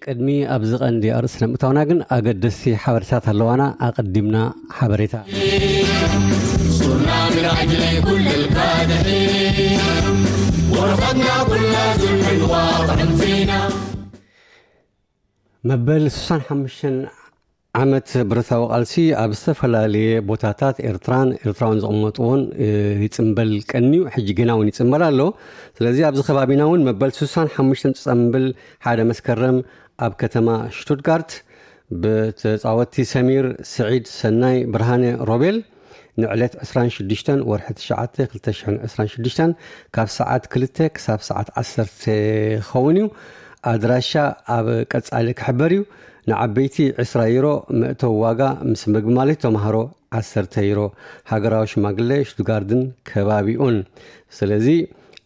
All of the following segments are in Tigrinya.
ቅድሚ ኣብዚ ቀንዲ ኣርእስቲ ንምእታውና ግን ኣገደስቲ ሓበሬታት ኣለዋና። ኣቐዲምና ሓበሬታ። ሱርና ብላዕሊ ኩሉ ልካድሒ፣ ወረቐትና ኩላ ዙልምን ዋቕዕን ፊና። መበል ስሳን ሓሙሽተን ዓመት ብረታዊ ቃልሲ ኣብ ዝተፈላለየ ቦታታት ኤርትራን ኤርትራውን ዝቕመጥዎን፣ እ፣ ይጽንበል ቀንዩ፣ ሕጂ ግና እውን ይጽንበል ኣሎ። ስለዚ ኣብዚ ከባቢና እውን መበል ስሳን ሓሙሽተን ጽንብል ሓደ መስከረም ኣብ ከተማ ሽቱትጋርት ብተጻወትቲ ሰሚር ስዒድ፣ ሰናይ ብርሃነ፣ ሮቤል ንዕለት ዕስራን ሽዱሽተን ወርሒ ትሽዓተ ክልተ ሽሕን ዕስራን ሽዱሽተን ካብ ሰዓት ክልተ ክሳብ ሰዓት ዓሰርተ ክኸውን እዩ። ኣድራሻ ኣብ ቀጻሊ ክሕበር እዩ። ንዓበይቲ ዕስራ ዩሮ መእተዊ ዋጋ፣ ምስ ምግቢ ማለት ተምሃሮ ዓሰርተ ዩሮ። ሃገራዊ ሽማግለ ሽቱትጋርድን ከባቢኡን። ስለዚ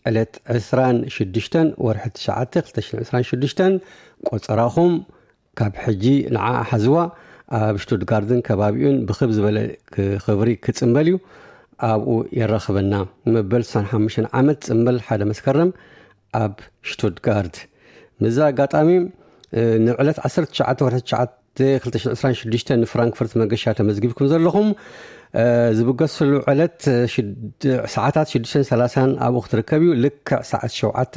ዕለት ዕስራን ሽዱሽተን ወርሒ ትሽዓተ ክልተ ሽሕን ዕስራን ሽዱሽተን ቆጸራኹም ካብ ሕጂ ንዓ ሓዝዋ። ኣብ ሽቱትጋርድን ከባቢኡን ብኽብ ዝበለ ክ-፣ ክብሪ ክጽንበል እዩ። ኣብኡ የራኽበና። መበል ስሳን ሓሙሽተን ዓመት ጽንበል ሓደ መስከረም ኣብ ሽቱትጋርት። ምስዚ ኣጋጣሚ፣ እ፣ ንዕለት ዓሰርተ ትሽዓተ ወርሒ ትሽዓተ ክልተ ሽሕን ዕስራን ሽዱሽተን ንፍራንክፈርት መገሻ ተመዝጊብኩም ዘለኹም፣ እ፣ ዝብገስሉ ዕለት፣ እ፣ ሽድ-፣ ሰዓታት ሽዱሽተን ሰላሳን ኣብኡ ክትርከብ እዩ። ልክዕ ሰዓት ሸውዓተ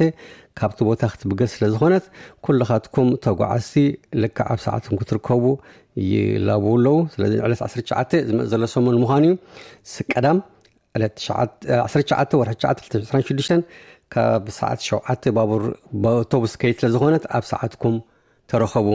ካብቲ ቦታ ክትብገስ ስለ ዝኾነት፣ ኩልኻትኩም ተጓዓዝቲ ልክዕ ኣብ ሰዓትኩም ክትርከቡ ይላብዉ ኣለዉ። ስለዚ ዕለት ዓሰርተ ትሽዓተ ዝመጽእ ዘሎ ሰሙን ምዃኑ እዩ። ስ-፣ ቀዳም ዕለት ትሽዓተ፣ ዓሰርተ ትሽዓተ ወርሒ ትሽዓተ ክልተ ሽሕን ዕስራን ሽዱሽተን ካብ ሰዓት ሸውዓተ ባቡር፣ ኣውቶቡስ ከይድ ስለ ዝኾነት ኣብ ሰዓትኩም ተረኸቡ።